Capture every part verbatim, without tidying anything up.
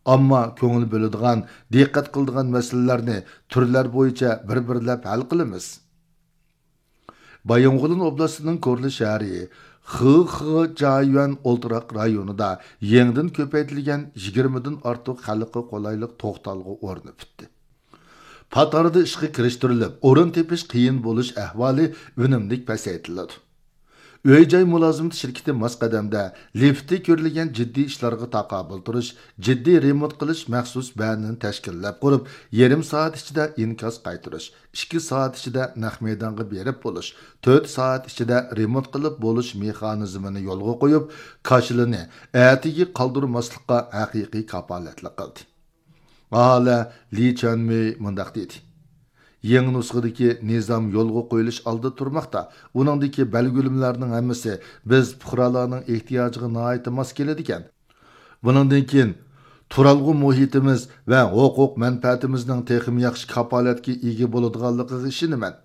ئامما كۆڭۈل بۆلىدىغان، دىققەت قىلىدىغان مەسىلىلەرنى تۈرلەر بويىچە بىر-بىرلەپ ھەل قىلىمىز. بايىنغولىن ئوبلاستىنىڭ كورلا شەھىرى خېخېجيۈەن ئولتۇراق رايونىدا يېڭىدىن كۆپەيتىلگەن يىگىرمىدىن ئارتۇق خەلققە قولايلىق توختالغۇ ئورنى پۈتتى. پات ئارىدا ئىشقا كىرىشتۈرۈلۈپ، ئورۇن تېپىش قىيىن بولۇش ئەھۋالى ئۈنۈملۈك پەسەيتىلىدۇ. ئۆي جاي مۇلازىمىتى شىركىتى ماس قەدەمدە لىفتتا كۆرۈلگەن جىددىي ئىشلارغا تاقابىل تۇرۇش، جىددىي رېمونت قىلىش مەخسۇس بەنىنى تەشكىللەپ قۇرۇپ، يېرىم سائەت ئىچىدە ئىنكاس قايتۇرۇش، ئىككى سائەت ئىچىدە نەق مەيدانغا بېرىپ بولۇش، تۆت سائەت ئىچىدە رېمونت قىلىپ بولۇش مېخانىزمىنى يولغا قويۇپ، كاشىلىنى ئەتىگە قالدۇرماسلىققا ھەقىقىي كاپالەتلىك قىلدى. ئاھالە لى چيەنمېي مۇنداق دېدى: يېڭى نۇسخىدىكى نىزام يولغا قويۇلۇش ئالدىدا تۇرماقتا. ئۇنىڭدىكى بەلگىلىمىلەرنىڭ ھەممىسى بىز پۇقرالارنىڭ ئېھتىياجىغا ناھايىتى ماس كېلىدىكەن. بۇنىڭدىن كېيىن تۇرالغۇ مۇھىتىمىز ۋە ھوقۇق مەنپەئەتىمىزنىڭ تېخىمۇ ياخشى كاپالەتكە ئىگە بولىدىغانلىقىغا ئىشىنىمەن.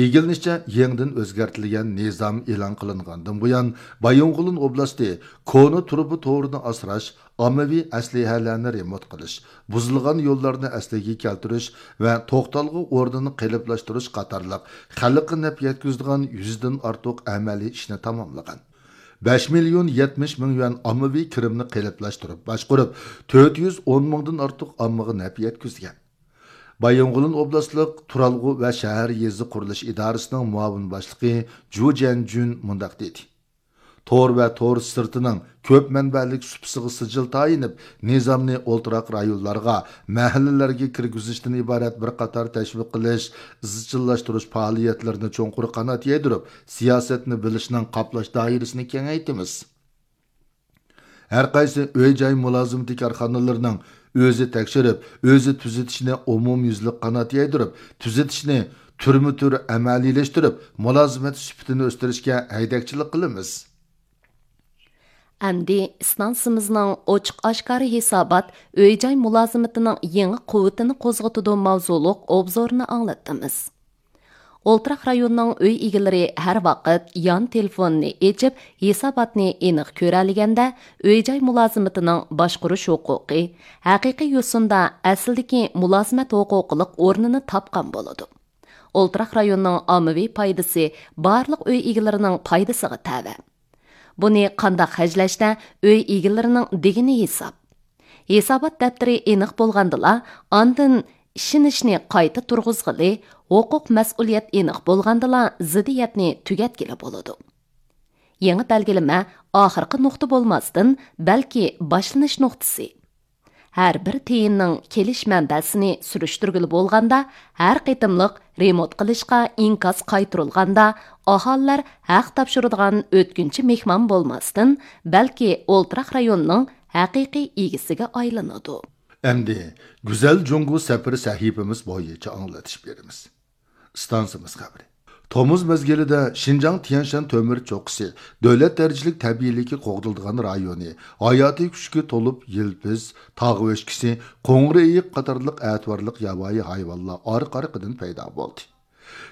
ئىگىلىنىشىچە، يېڭىدىن ئۆزگەرتىلگەن نىزام ئېلان قىلىنغاندىن بۇيان، بايىنغولىن ئوبلاستى كونا تۇرۇبا تورىنى ئاسراش، ئاممىۋى ئەسلىھەلەرنى رېمونت قىلىش، بۇزۇلغان يوللارنى ئەسلىگە كەلتۈرۈش ۋە توختالغۇ ئورنىنى قېلىپلاشتۇرۇش قاتارلىق خەلققە نەپ يەتكۈزىدىغان يۈزدىن ئارتۇق ئەمەلىي ئىشنى تاماملىغان. بەش مىليون يەتمىش مىڭ يۈەن ئاممىۋى كىرىمنى قېلىپلاشتۇرۇپ باشقۇرۇپ، تۆت يۈز ئون مىڭدىن ئارتۇق ئاممىغا نەپ يەتكۈزگەن. بايىنغولىن ئوبلاستلىق تۇرالغۇ ۋە شەھەر يېزا قۇرۇلۇش ئىدارىسىنىڭ مۇئاۋىن باشلىقى جۇ جيەنجۈن مۇنداق دېدى: تور ۋە تور سىرتىنىڭ كۆپ مەنبەلىك سۇپىسىغا سىجىل تايىنىپ، نىزامنى ئولتۇراق رايونلارغا، مەھەللىلەرگە كىرگۈزۈشتىن ئىبارەت بىر قاتار تەشۋىق قىلىش، ئىزچىللاشتۇرۇش پائالىيەتلىرىنى چوڭقۇر قانات يايدۇرۇپ، سىياسەتنى بىلىشنىڭ قاپلاش دائىرىسىنى كېڭەيتىمىز. ھەر قايسى ئۆي جاي مۇلازىمىتى كارخانىلىرىنىڭ ئۆزى تەكشۈرۈپ، ئۆزى تۈزىتىشىنى ئومۇميۈزلۈك قانات يايدۇرۇپ، تۈزىتىشنى تۈرمە تۈر ئەمەلىيلەشتۈرۈپ، مۇلازىمەت سۈپىتىنى ئۆستۈرۈشكە ھەيدەكچىلىك قىلىمىز. ئەمدى ئىستانسىمىزنىڭ ئوچۇق ئاشكارا ھېسابات ئۆي جاي مۇلازىمىتىنىڭ يېڭى قۇۋۋىتىنى قوزغىتىدۇ ماۋزۇلۇق ئوبزورنى ئاڭلاتتىمىز. ئولتۇراق رايوننىڭ ئۆي ئىگىلىرى ھەر ۋاقىت يان تېلېفوننى ئېچىپ، ھېساباتنى ئېنىق كۆرەلىگەندە، ئۆي جاي مۇلازىمىتىنىڭ باشقۇرۇش ھوقۇقى ھەقىقىي يوسۇندا ئەسلىدىكى مۇلازىمەت ھوقۇقلۇق ئورنىنى تاپقان بولىدۇ. ئولتۇراق رايوننىڭ ئاممىۋى پايدىسى بارلىق ئۆي ئىگىلىرىنىڭ پايدىسىغا تەۋە. بۇنى قانداق خەجلەشتە ئۆي ئىگىلىرىنىڭ دېگىنى ھېساب. ھېسابات دەپتىرى ئېنىق بولغاندىلا، ئاندىن ئىشىنىشنى قايتا تۇرغۇزغىلى، ھوقۇق مەسئۇلىيەت ئېنىق بولغاندىلا زىددىيەتنى تۈگەتكىلى بولىدۇ. يېڭى بەلگىلىمە ئاخىرقى نۇقتا بولماستىن، بەلكى باشلىنىش نۇقتىسى. ھەر بىر تىيىننىڭ كېلىش مەنبەسىنى سۈرۈشتۈرگىلى بولغاندا، ھەر قېتىملىق رېمونت قىلىشقا ئىنكاس قايتۇرۇلغاندا، ئاھالىلەر ھەق تاپشۇرىدىغان ئۆتكۈنچى مېھمان بولماستىن، بەلكى ئولتۇراق رايوننىڭ ھەقىقىي ئىگىسىگە ئايلىنىدۇ. ئەمدى گۈزەل جۇڭگو سەپىرى سەھىپىمىز بويىچە ئاڭلىتىش بېرىمىز. ئىستانسىمىز خەۋىرى. تومۇز مەزگىلىدە شىنجاڭ تيەنشان تۆمۈر چوققىسى دۆلەت دەرىجىلىك تەبىئىيلىككە قوغدىلىدىغان رايونى، ھاياتىي كۈچكە تولۇپ يىلپىز، تاغ ئۆچكىسى، قوڭۇر ئېيىق قاتارلىق ئەتىۋارلىق ياۋايى ھايۋانلار ئارقا-ئارقىدىن پەيدا بولدى.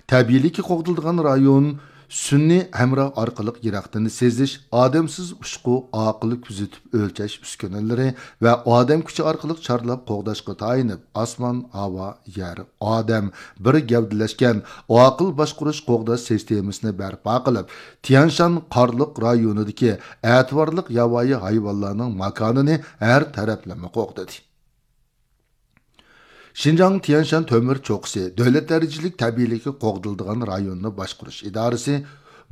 تەبىئىيلىككە قوغدىلىدىغان رايون سۈنئىي ھەمراھ ئارقىلىق يىراقتىن سېزىش، ئادەمسىز ئۇچقۇ، ئاقىل كۆزىتىپ ئۆلچەش ئۈسكۈنىلىرى ۋە ئادەم كۈچى ئارقىلىق چارلاپ قوغداشقا تايىنىپ، ئاسمان، ھاۋا، يەر، ئادەم بىر گەۋدىلەشكەن ئاقىل باشقۇرۇش قوغداش سىستېمىسىنى بەرپا قىلىپ، تيەنشان قارلىق رايونىدىكى ئەتىۋارلىق ياۋايى ھايۋانلارنىڭ ماكانىنى ھەر تەرەپلىمە قوغدىدى. شىنجاڭ تيەنشان تۆمۈر چوققىسى دۆلەت دەرىجىلىك تەبىئىيلىككە قوغدىلىدىغان رايوننى باشقۇرۇش ئىدارىسى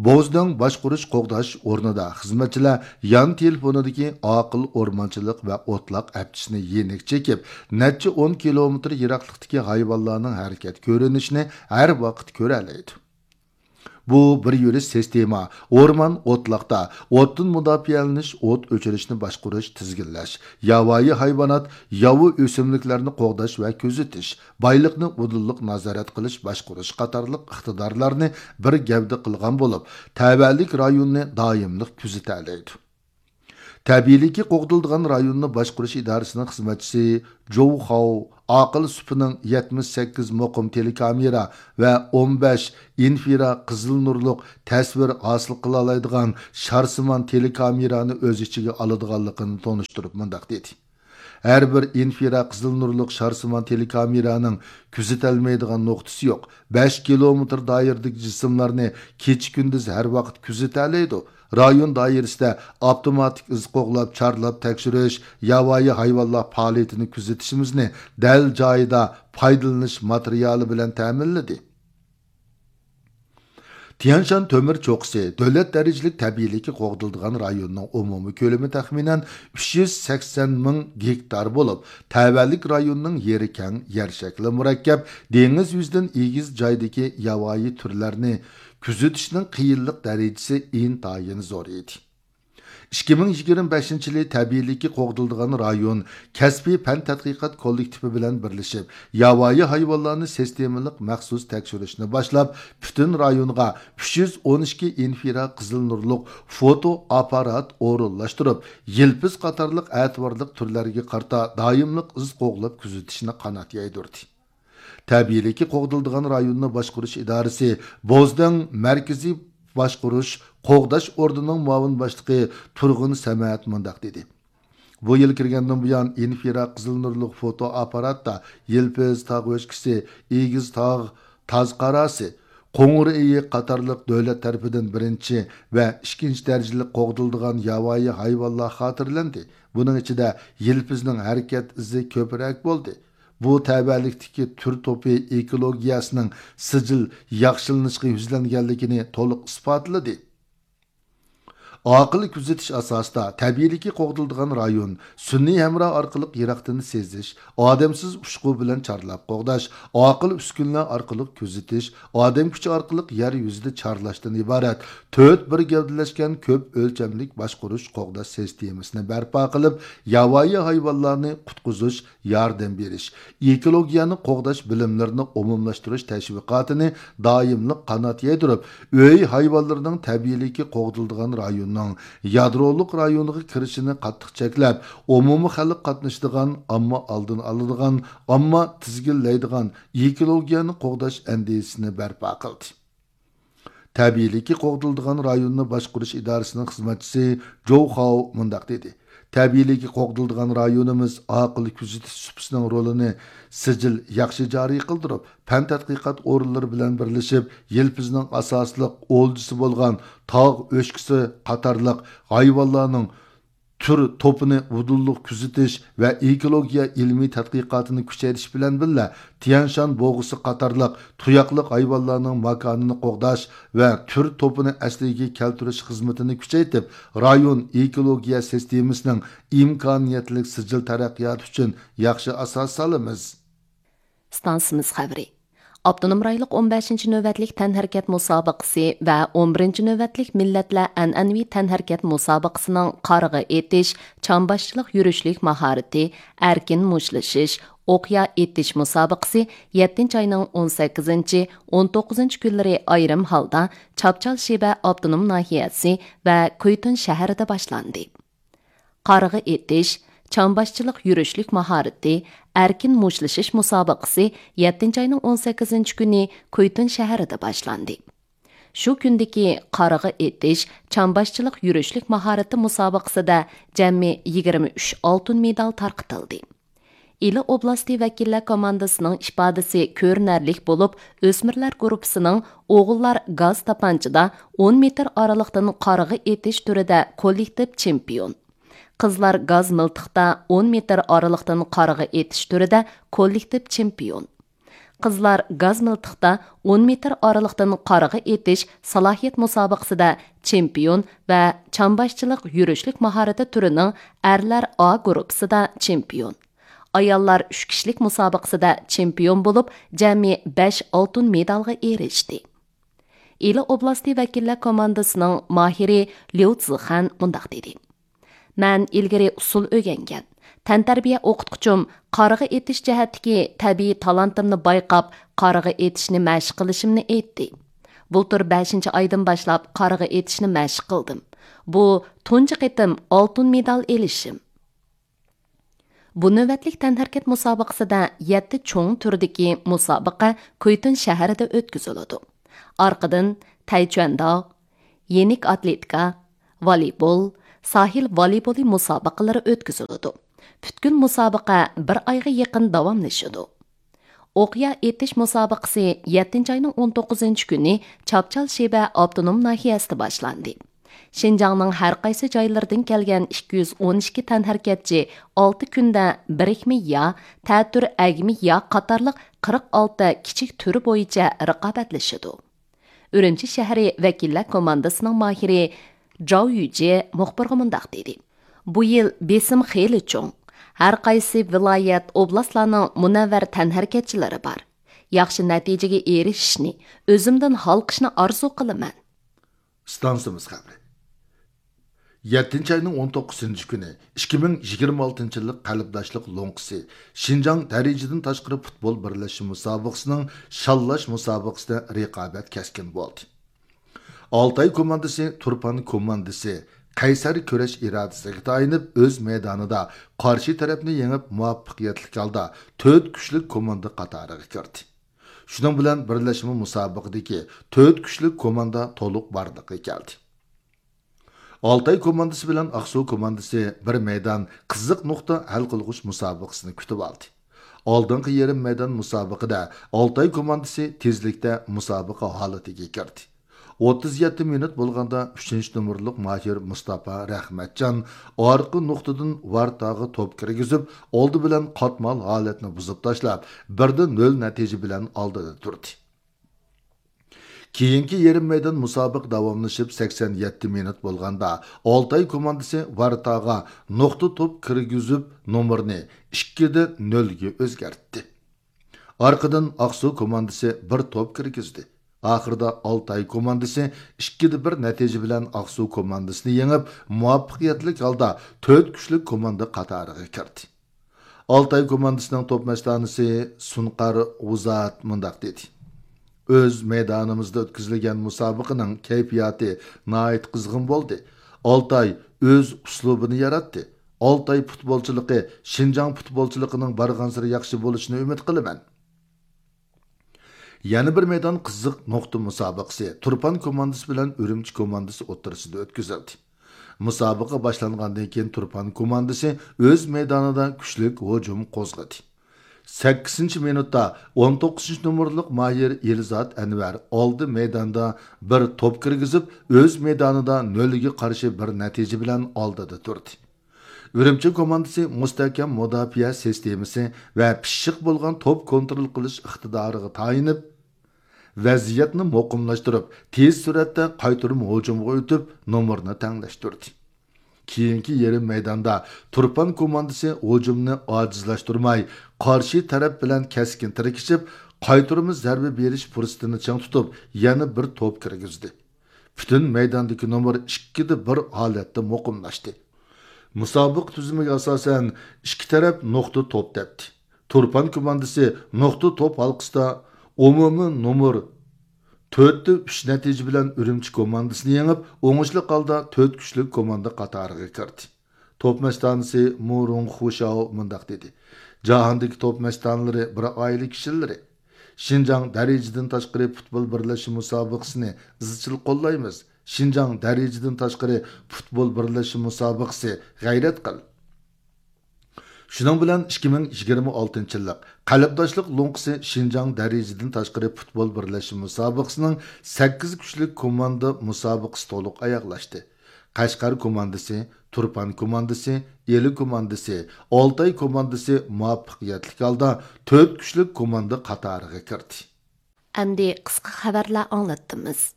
بوزدېڭ باشقۇرۇش قوغداش ئورنىدا خىزمەتچىلەر يان تېلېفونىدىكى ئاقىل ئورمانچىلىق ۋە ئوتلاق ئەپچىسىنى يېنىك چېكىپ، نەچچە ئون كىلومېتىر يىراقلىقتىكى ھايۋانلارنىڭ ھەرىكەت كۆرۈنۈشىنى ھەر ۋاقىت كۆرەلەيدۇ. بۇ بىر يۈرۈش سىستېما، ئورمان، ئوتلاقتا ئوتتىن مۇداپىئەلىنىش، ئوت ئۆچۈرۈشنى باشقۇرۇش، تىزگىنلەش، ياۋايى ھايۋانات، ياۋا ئۆسۈملۈكلەرنى قوغداش ۋە كۆزىتىش، بايلىقنى ئۇدۇللۇق نازارەت قىلىش، باشقۇرۇش قاتارلىق ئىقتىدارلارنى بىر گەۋدە قىلغان بولۇپ، تەۋەلىك رايوننى دائىملىق كۆزىتەلەيدۇ. تەبىئىيلىككە قوغدىلىدىغان رايوننى باشقۇرۇش ئىدارىسىنىڭ خىزمەتچىسى جوۋ خاۋ ئاقىل سۈپىنىڭ يەتمىش سەككىز مۇقىم تېلېكامېرا ۋە ئون بەش ئىنفرا قىزىل نۇرلۇق تەسۋىر ھاسىل قىلالايدىغان شارسىمان تېلېكامېرانى ئۆز ئىچىگە ئالىدىغانلىقىنى تونۇشتۇرۇپ مۇنداق دېدى: ھەر بىر ئىنفرا قىزىل نۇرلۇق شارسىمان تېلېكامېرانىڭ كۆزىتەلمەيدىغان نۇقتىسى يوق. بەش كىلومېتىر دائىرىدىكى جىسىملارنى كېچە-كۈندۈز ھەر ۋاقىت كۆزىتەلەيدۇ. رايون دائىرىسىدە ئاپتوماتىك ئىز قوغلاپ، چارلاپ تەكشۈرۈش، ياۋايى ھايۋانلار پائالىيىتىنى كۆزىتىشىمىزنى دەل جايىدا پايدىلىنىش ماتېرىيالى بىلەن تەمىنلىدى. تيەنشان تۆمۈر چوققىسى دۆلەت دەرىجىلىك تەبىئىيلىككە قوغدىلىدىغان رايوننىڭ ئومۇمىي كۆلىمى تەخمىنەن ئۈچ يۈز سەكسەن مىڭ گېكتار بولۇپ، تەۋەلىك رايوننىڭ يېرى كەڭ، يەر شەكلى مۇرەككەپ، دېڭىز يۈزىدىن ئېگىز جايدىكى ياۋايى تۈرلەرنى كۆزىتىشنىڭ قىيىنلىق دەرىجىسى ئىنتايىن زور ئىدى. ئىككى مىڭ يىگىرمە بەشىنچى يىلى تەبىئىيلىككە قوغدىلىدىغان رايون كەسپىي پەن تەتقىقات كوللېكتىپى بىلەن بىرلىشىپ، ياۋايى ھايۋانلارنى سىستېمىلىق مەخسۇس تەكشۈرۈشنى باشلاپ، پۈتۈن رايونغا ئۈچ يۈز ئون ئىككى ئىنفرا قىزىل نۇرلۇق فوتو ئاپپارات ئورۇنلاشتۇرۇپ، يىلپىز قاتارلىق ئەتىۋارلىق تۈرلەرگە قارىتا دائىملىق ئىز قوغلاپ كۆزىتىشنى قانات يايدۇردى. تەبىئىيلىككە قوغدىلىدىغان رايوننى باشقۇرۇش ئىدارىسى بوزدەڭ مەركىزىي باشقۇرۇش قوغداش ئورنىنىڭ مۇئاۋىن باشلىقى تۇرغۇن سەمەت مۇنداق دېدى: بۇ يىل كىرگەندىن بۇيان، ئىنفرا قىزىل نۇرلۇق فوتو ئاپپاراتتا يىلپىز تاغ ئۆچكىسى، ئېگىز تاغ تازقاراسى، قوڭۇر ئېيىق قاتارلىق دۆلەت تەرىپىدىن بىرىنچى ۋە ئىككىنچى دەرىجىلىك قوغدىلىدىغان ياۋايى ھايۋانلار خاتىرىلەندى. بۇنىڭ ئىچىدە يىلپىزنىڭ ھەرىكەت ئىزى كۆپرەك بولدى. بۇ تەۋەلىكتىكى تۈر توپى ئېكولوگىيەسىنىڭ سىجىل ياخشىلىنىشقا يۈزلەنگەنلىكىنى تولۇق ئىسپاتلىدى. ئاقىل كۆزىتىش ئاساسىدا تەبىئىيلىككە قوغدىلىدىغان رايون سۈنئىي ھەمراھ ئارقىلىق يىراقتىن سېزىش، ئادەمسىز ئۇچقۇ بىلەن چارلاپ قوغداش، ئاقىل ئۈسكۈنىلەر ئارقىلىق كۆزىتىش، ئادەم كۈچى ئارقىلىق يەر يۈزىدە چارلاشتىن ئىبارەت تۆت بىر گەۋدىلەشكەن كۆپ ئۆلچەملىك باشقۇرۇش قوغداش سىستېمىسىنى بەرپا قىلىپ، ياۋايى ھايۋانلارنى قۇتقۇزۇش، ياردەم بېرىش، ئېكولوگىيەنى قوغداش بىلىملىرىنى ئومۇملاشتۇرۇش تەشۋىقاتىنى دائىملىق قانات يايدۇرۇپ، ئۆي ھايۋانلىرىنىڭ تەبىئىيلىككە قوغدىلىدىغان رايوننىڭ يادرولۇق رايونىغا كىرىشىنى قاتتىق چەكلەپ، ئومۇمىي خەلق قاتنىشىدىغان، ئامما ئالدىنى ئالىدىغان، ئامما تىزگىنلەيدىغان ئېكولوگىيەنى قوغداش ئەندىزىسىنى بەرپا قىلدى. تەبىئىيلىككە قوغدىلىدىغان رايوننى باشقۇرۇش ئىدارىسىنىڭ خىزمەتچىسى جوۋ خاۋ مۇنداق دېدى: تەبىئىيلىككە قوغدىلىدىغان رايونىمىز ئاقىل كۆزىتىش سۇپىسىنىڭ رولىنى سىجىل ياخشى جارى قىلدۇرۇپ، پەن تەتقىقات ئورۇنلىرى بىلەن بىرلىشىپ، يىلپىزنىڭ ئاساسلىق ئولجىسى بولغان تاغ ئۆچكىسى قاتارلىق ھايۋانلارنىڭ تۈر توپىنى ئۇدۇللۇق كۆزىتىش ۋە ئېكولوگىيە ئىلمىي تەتقىقاتىنى كۈچەيتىش بىلەن بىللە، تيەنشان بوغۇسى قاتارلىق تۇياقلىق ھايۋانلارنىڭ ماكانىنى قوغداش ۋە تۈر توپىنى ئەسلىگە كەلتۈرۈش خىزمىتىنى كۈچەيتىپ، رايون ئېكولوگىيە سىستېمىسىنىڭ ئىمكانىيەتلىك سىجىل تەرەققىياتى ئۈچۈن ياخشى ئاساس سالىمىز. ئىستانسىمىز خەۋىرى. ئاپتونوم رايونلۇق ئون بەشىنچى نۆۋەتلىك تەنھەرىكەت مۇسابىقىسى ۋە ئون بىرىنچى نۆۋەتلىك مىللەتلەر ئەنئەنىۋى تەنھەرىكەت مۇسابىقىسىنىڭ قارىغا ئېتىش، چامباشچىلىق يۈرۈشلۈك ماھارىتى، ئەركىن مۇشتلىشىش، ئوقيا ئېتىش مۇسابىقىسى يەتتىنچى ئاينىڭ ئون سەككىزىنچى، ئون توققۇزىنچى كۈنلىرى ئايرىم ھالدا چاپچال شىبە ئاپتونوم ناھىيەسى ۋە كۇيتۇن شەھىرىدە باشلاندى. قارىغا ئېتىش، چامباشچىلىق يۈرۈشلۈك ماھارىتى، ئەركىن مۇشتلىشىش مۇسابىقىسى يەتتىنچى ئاينىڭ ئون سەككىزىنچى كۈنى كۇيتۇن شەھىرىدە باشلاندى. شۇ كۈندىكى قارىغا ئېتىش، چامباشچىلىق يۈرۈشلۈك ماھارىتى مۇسابىقىسىدە جەمئىي يىگىرمە ئۈچ ئالتۇن مېدال تارقىتىلدى. ئىلى ئوبلاستى ۋەكىللەر كوماندىسىنىڭ ئىپادىسى كۆرۈنەرلىك بولۇپ، ئۆسمۈرلەر گۇرۇپپىسىنىڭ ئوغۇللار گاز تاپانچىدا ئون مېتىر ئارىلىقتىن قارىغا ئېتىش تۈرىدە كوللېكتىپ چېمپىيون، قىزلار گاز مىلتىقتا ئون مېتىر ئارىلىقتىن قارىغا ئېتىش تۈرىدە كوللېكتىپ چېمپىيون، قىزلار گاز مىلتىقتا ئون مېتىر ئارىلىقتىن قارىغا ئېتىش سالاھىيەت مۇسابىقىسىدە چېمپىيون ۋە چامباشچىلىق يۈرۈشلۈك ماھارىتى تۈرىنىڭ ئەرلەر ئا گۇرۇپپىسىدا چېمپىيون، ئاياللار ئۈچ كىشىلىك مۇسابىقىسىدە چېمپىيون بولۇپ، جەمئىي بەش ئالتۇن مېدالغا ئېرىشتى. ئىلى ئوبلاستى ۋەكىللەر كوماندىسىنىڭ ماھىرى ليۇ زىخەن مۇنداق دېدى: مەن ئىلگىرى ئۇسسۇل ئۆگەنگەن، تەنتەربىيە ئوقۇتقۇچۇم قارىغا ئېتىش جەھەتتىكى تەبىئىي تالانتىمنى بايقاپ، قارىغا ئېتىشنى مەشىق قىلىشىمنى ئېيتتى. بۇلتۇر بەشىنچى ئايدىن باشلاپ قارىغا ئېتىشنى مەشىق قىلدىم. بۇ تۇنجى قېتىم ئالتۇن مېدال ئېلىشىم. بۇ نۆۋەتلىك تەنھەرىكەت مۇسابىقىسىدە يەتتە چوڭ تۈردىكى مۇسابىقە كۇيتۇن شەھىرىدە ئۆتكۈزۈلىدۇ. ئارقىدىن تەيچۈەنداغ، يېنىك ئاتلېتىكا، ۋالىبول، ساھىل ۋالىبولى مۇسابىقىلىرى ئۆتكۈزۈلىدۇ. پۈتكۈل مۇسابىقە بىر ئايغا يېقىن داۋاملىشىدۇ. ئوقيا ئېتىش مۇسابىقىسى يەتتىنچى ئاينىڭ ئون توققۇزىنچى كۈنى چاپچال شىبە ئاپتونوم ناھىيەسىدە باشلاندى. شىنجاڭنىڭ ھەر قايسى جايلىرىدىن كەلگەن ئىككى يۈز ئون ئىككى تەنھەرىكەتچى ئالتە كۈندە بىرىكمە يا، تەتۈر ئەگمە يا قاتارلىق قىرىق ئالتە كىچىك تۈرى بويىچە رىقابەتلىشىدۇ. ئۈرۈمچى شەھىرى ۋەكىللەر كوماندىسىنىڭ ماھىرى جاۋ يۈجې مۇخبىرغا مۇنداق دېدى: بۇ يىل بېسىم خېلى چوڭ. ھەر قايسى ۋىلايەت، ئوبلاستلارنىڭ مۇنەۋۋەر تەنھەرىكەتچىلىرى بار. ياخشى نەتىجىگە ئېرىشىشنى، ئۆزۈمدىن ھالقىشنى ئارزۇ قىلىمەن. ئىستانسىمىز خەۋىرى. يەتتىنچى ئاينىڭ ئون توققۇزىنچى كۈنى ئىككى مىڭ يىگىرمە ئالتىنچى يىللىق قەلبداشلىق لوڭقىسى شىنجاڭ دەرىجىدىن تاشقىرى پۇتبول بىرلەشمە مۇسابىقىسىنىڭ شاللاش مۇسابىقىسىدە رىقابەت كەسكىن بولدى. ئالتاي كوماندىسى تۇرپان كوماندىسى قەيسەر كۈرەش ئىرادىسىگە تايىنىپ، ئۆز مەيدانىدا قارشى تەرەپنى يېڭىپ، مۇۋەپپەقىيەتلىك ھالدا تۆت كۈچلۈك كوماندا قاتارىغا كىردى. شۇنىڭ بىلەن بىرلەشمە مۇسابىقىدىكى تۆت كۈچلۈك كوماندا تولۇق بارلىققا كەلدى. ئالتاي كوماندىسى بىلەن ئاقسۇ كوماندىسى بىر مەيدان قىزىق نۇقتا ھەل قىلغۇچ مۇسابىقىسىنى كۈتۈۋالدى. ئالدىنقى يېرىم مەيدان مۇسابىقىدە ئالتاي كوماندىسى تېزلىكتە مۇسابىقە ھالىتىگە كىردى. ئوتتۇز يەتتە مىنۇت بولغاندا ئۈچىنچى نومۇرلۇق ماھىر مۇستاپا رەھمەتجان ئارقا نۇقتىدىن ۋارتاغا توپ كىرگۈزۈپ، ئالدى بىلەن قاتمال ھالەتنى بۇزۇپ تاشلاپ، بىردە نۆل نەتىجە بىلەن ئالدىدا تۇردى. كېيىنكى يېرىم مەيدان مۇسابىقە داۋاملىشىپ سەكسەن يەتتە مىنۇت بولغاندا، ئالتاي كوماندىسى ۋارتاغا نۇقتا توپ كىرگۈزۈپ، نومۇرنى ئىككىدە نۆلگە ئۆزگەرتتى. ئارقىدىن ئاقسۇ كوماندىسى بىر توپ كىرگۈزدى. ئاخىرىدا ئالتاي كوماندىسى ئىككىدە بىر نەتىجە بىلەن ئاقسۇ كوماندىسىنى يېڭىپ، مۇۋەپپەقىيەتلىك ھالدا تۆت كۈچلۈك كوماندا قاتارىغا كىردى. ئالتاي كوماندىسىنىڭ توپ مەستانىسى سۇنقار غۇزات مۇنداق دېدى: ئۆز مەيدانىمىزدا ئۆتكۈزۈلگەن مۇسابىقىنىڭ كەيپىياتى ناھايىتى قىزغىن بولدى. ئالتاي ئۆز ئۇسلۇبىنى ياراتتى. ئالتاي پۇتبولچىلىقى شىنجاڭ پۇتبولچىلىقىنىڭ بارغانسېرى ياخشى بولۇشىنى ئۈمىد قىلىمەن. يەنە بىر مەيدان قىزىق نۇقتا مۇسابىقىسى تۇرپان كوماندىسى بىلەن ئۈرۈمچى كوماندىسى ئوتتۇرىسىدا ئۆتكۈزۈلدى. مۇسابىقە باشلانغاندىن كېيىن تۇرپان كوماندىسى ئۆز مەيدانىدا كۈچلۈك ھۇجۇم قوزغىدى. سەككىزىنچى مىنۇتتا ئون توققۇزىنچى نومۇرلۇق ماھىر ئېلزات ئەنۋەر ئالدى مەيداندا بىر توپ كىرگۈزۈپ، ئۆز مەيدانىدا نۆلگە قارشى بىر نەتىجە بىلەن ئالدىدا تۇردى. ئۈرۈمچى كوماندىسى مۇستەھكەم مۇداپىئە سىستېمىسى ۋە پىششىق بولغان توپ كونترول قىلىش ئىقتىدارىغا تايىنىپ، ۋەزىيەتنى مۇقىملاشتۇرۇپ، تېز سۈرئەتتە قايتۇرما ھۇجۇمغا ئۆتۈپ، نومۇرنى تەڭلەشتۈردى. كېيىنكى يېرىم مەيداندا تۇرپان كوماندىسى ھۇجۇمنى ئاجىزلاشتۇرماي، قارشى تەرەپ بىلەن كەسكىن تىركىشىپ، قايتۇرما زەربە بېرىش پۇرسىتىنى چىڭ تۇتۇپ، يەنە بىر توپ كىرگۈزدى. پۈتۈن مەيداندىكى نومۇر ئىككىدە بىر ھالەتتە مۇقىملاشتى. مۇسابىقە تۈزۈمىگە ئاساسەن، ئىككى تەرەپ نۇقتا توپ تەپتى. تۇرپان كوماندىسى نۇقتا توپ ھالقىسىدا ئومۇمىي نومۇر تۆتتە ئۈچ نەتىجە بىلەن ئۈرۈمچى كوماندىسىنى يېڭىپ، ئوڭۇشلۇق ھالدا تۆت كۈچلۈك كوماندا قاتارىغا كىردى. توپ مەستانىسى مو رۇڭ خۇشاۋ مۇنداق دېدى: جاھاندىكى توپ مەستانىلىرى بىر ئائىلە كىشىلىرى. شىنجاڭ دەرىجىدىن تاشقىرى پۇتبول بىرلەشمە مۇسابىقىسىنى ئىزچىل قوللايمىز. شىنجاڭ دەرىجىدىن تاشقىرى پۇتبول بىرلەشمە مۇسابىقىسى، غەيرەت قىل! شۇنىڭ بىلەن ئىككى مىڭ يىگىرمە ئالتىنچى يىللىق قەلبداشلىق لوڭقىسى شىنجاڭ دەرىجىدىن تاشقىرى پۇتبول بىرلەشمە مۇسابىقىسىنىڭ سەككىز كۈچلۈك كوماندا مۇسابىقىسى تولۇق ئاياغلاشتى. قەشقەر كوماندىسى، تۇرپان كوماندىسى، ئىلى كوماندىسى، ئالتاي كوماندىسى مۇۋەپپەقىيەتلىك ھالدا تۆت كۈچلۈك كوماندا قاتارىغا كىردى. ئەمدى قىسقا خەۋەرلەر ئاڭلاتتىمىز.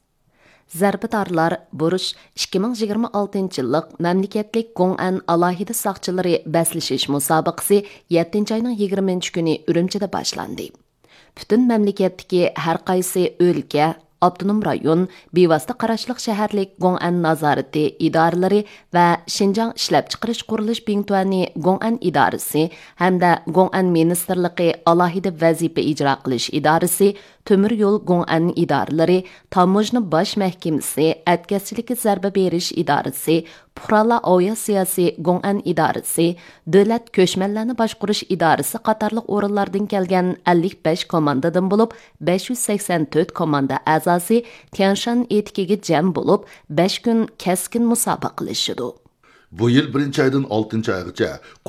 زەربىدارلار بۇرۇش ئىككى مىڭ يىگىرمە ئالتىنچى يىللىق مەملىكەتلىك گوڭئەن ئالاھىدە ساقچىلىرى بەسلىشىش مۇسابىقىسى يەتتىنچى ئاينىڭ يىگىرمىنچى كۈنى ئۈرۈمچىدە باشلاندى. پۈتۈن مەملىكەتتىكى ھەر قايسى ئۆلكە، ئاپتونوم رايون، بىۋاسىتە قاراشلىق شەھەرلىك گوڭئەن نازارىتى ئىدارىلىرى ۋە شىنجاڭ ئىشلەپچىقىرىش قۇرۇلۇش بىڭتۈەنى گوڭئەن ئىدارىسى ھەمدە گوڭئەن مىنىستىرلىقى ئالاھىدە ۋەزىپە ئىجرا قىلىش ئىدارىسى، تۆمۈر يول گوڭئەن ئىدارىلىرى، تاموژنا باش مەھكىمىسى، ئەتكەسچىلىككە زەربە بېرىش ئىدارىسى، پۇقرالار ئاۋىئاتسىياسى گوڭئەن ئىدارىسى، دۆلەت كۆچمەنلەرنى باشقۇرۇش ئىدارىسى قاتارلىق ئورۇنلاردىن كەلگەن ئەللىك بەش كوماندىدىن بولۇپ، بەش يۈز سەكسەن تۆت كوماندا ئەزاسى تيەنشان ئېتىكىگە جەم بولۇپ، بەش كۈن كەسكىن مۇسابىقىلىشىدۇ. بۇ يىل بىرىنچى ئايدىن ئالتىنچى ئايغىچە